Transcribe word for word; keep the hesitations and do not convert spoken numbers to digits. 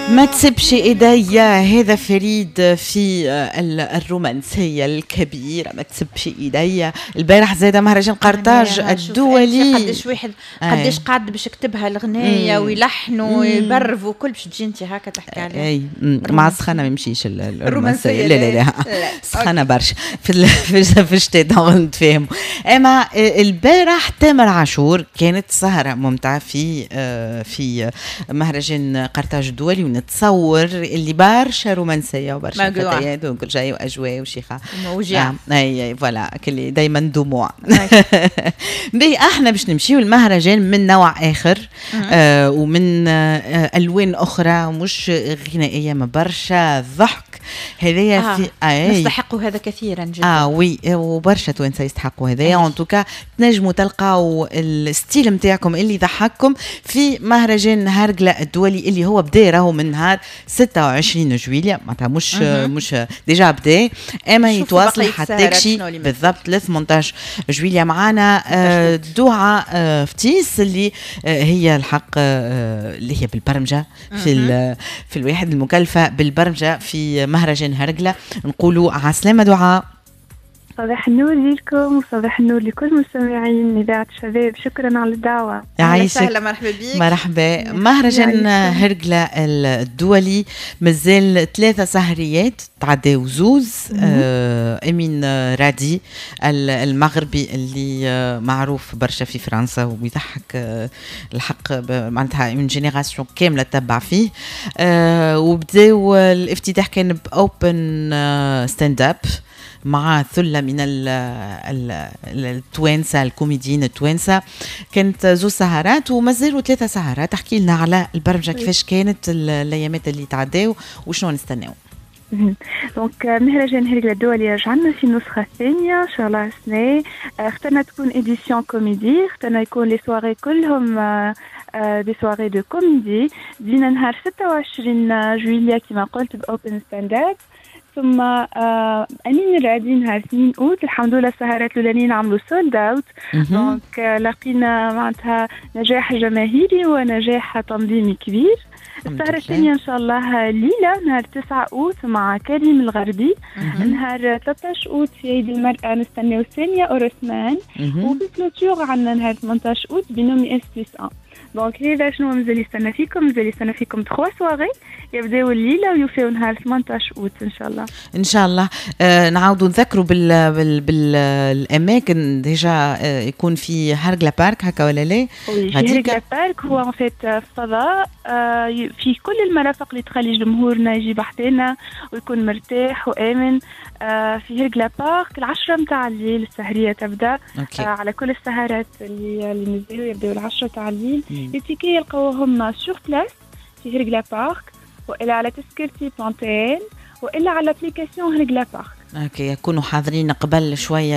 ما تسيبش ايديا، هذا فريد في الرومانسية الكبيره. ما تسبش ايديا. البارح زاد مهرجان قرطاج الدولي. قداش واحد قداش قعد باش يكتبها الغنايه ويلحنوا ويبرف وكل، باش تجي انت هكا تحكي عليها. اي، مع السخانه ما يمشيش الرومانسيه. لا لا لا، سخانه برشا في في الشتاء نتفاهموا. اما البارح تامر عاشور، كانت سهره ممتعة في آه، في مهرجان قرطاج الدولي، ونتصور اللي برشا رومانسية وبرشا فتيات وكل شيء واجواء وشيخه. وجيعه. آه اي voilà، كل دايما دموع. باهي، احنا باش نمشيو المهرجان من نوع اخر آه ومن آه الوان اخرى، مش غنائيه، ما برشا ضحك هذايا. آه في آه نستحقوا هذا كثيرا جدا. اه oui، وبرشا توانسة يستحقوا هذايا. en tout cas تنجموا تلقاو ال style نتاعكم اللي يضحككم في مهرجان هرقله الدولي، اللي هو بدا راهو من نهار ستة وعشرين جويليا، معناتها مش مش déjà بدا، اما يتواصل حتى تكشي بالضبط ل ثمنطاش جويليا. معانا آه، دعاء آه، فتيس، اللي آه، هي الحق اللي هي بالبرمجة في في الواحد المكلفه بالبرمجة في مهرجان هرقله. نقولوا عسلامة دعاء. صباح النور لكم وصباح النور لكل مستمعين إذاعة شباب، شكرا على الدعوة. يعيشك. أهلا، مرحبا بك. مرحبا. مهرجان هرقلة الدولي مازال ثلاثة سهريات، تعداو زوز. آه امين رادي المغربي اللي آه معروف برشا في فرنسا ويضحك، آه الحق معناتها une génération كاملة تبع فيه. آه وبداو الافتتاح كان ب open stand-up مع ثلة من التوانسة، الكوميديين التوانسة. كانت زوز سهرات ومازالوا ثلاثة سهرات. تحكي لنا على البرمجة، كيفاش كانت الأيامات اللي تعداو وشنو نستناو؟ donc مهرجان هرقلة الدولي رجعنا في النسخة الثانية إن شاء الله السنة. اخترنا تكون édition comédie، اخترنا يكون les soirées كلهم des soirées de comédie. بدينا نهار ستة وعشرين جويليا كما قلت ب open stand-up، ثم آه امين الرادي نهار اثنين اوت. الحمد لله السهرات الاولانيين عملوا sold out، donc لقينا معناتها نجاح جماهيري ونجاح تنظيمي كبير. السهرة الثانية إن شاء الله ليلة نهار تسعة أوت مع كريم الغربي. نهار ثلاثة عشر أوت في عيد المرأة نستناو سامية أورسمان، وفي clôture عندنا نهار ثمنطاش أوت بينومي S plus un. donc هذا شنو مازال يستنى فيكم. مازال يستنى فيكم trois soirées يبداو الليلة ويوفيو نهار ثمنطاش اوت ان شاء الله. ان شاء الله. آه نعاودوا نذكروا بال بال بالاماكن déjà، آه يكون في هرقله بارك، هكا ولا لا؟ oui، في هرقله بارك، هو en fait فضاء آه في كل المرافق اللي تخلي جمهورنا يجي بحذانا ويكون مرتاح وامن. آه في هرقله بارك العشرة متاع الليل السهرية تبدا. okay. آه على كل السهرات اللي اللي مازالوا يبداو العشرة تاع الليل. les tickets يلقاوهم sur place في هرقله بارك، والا على تذكرتي point tn، والا على l'application هرقله بارك. okay، يكونوا حاضرين قبل شويه.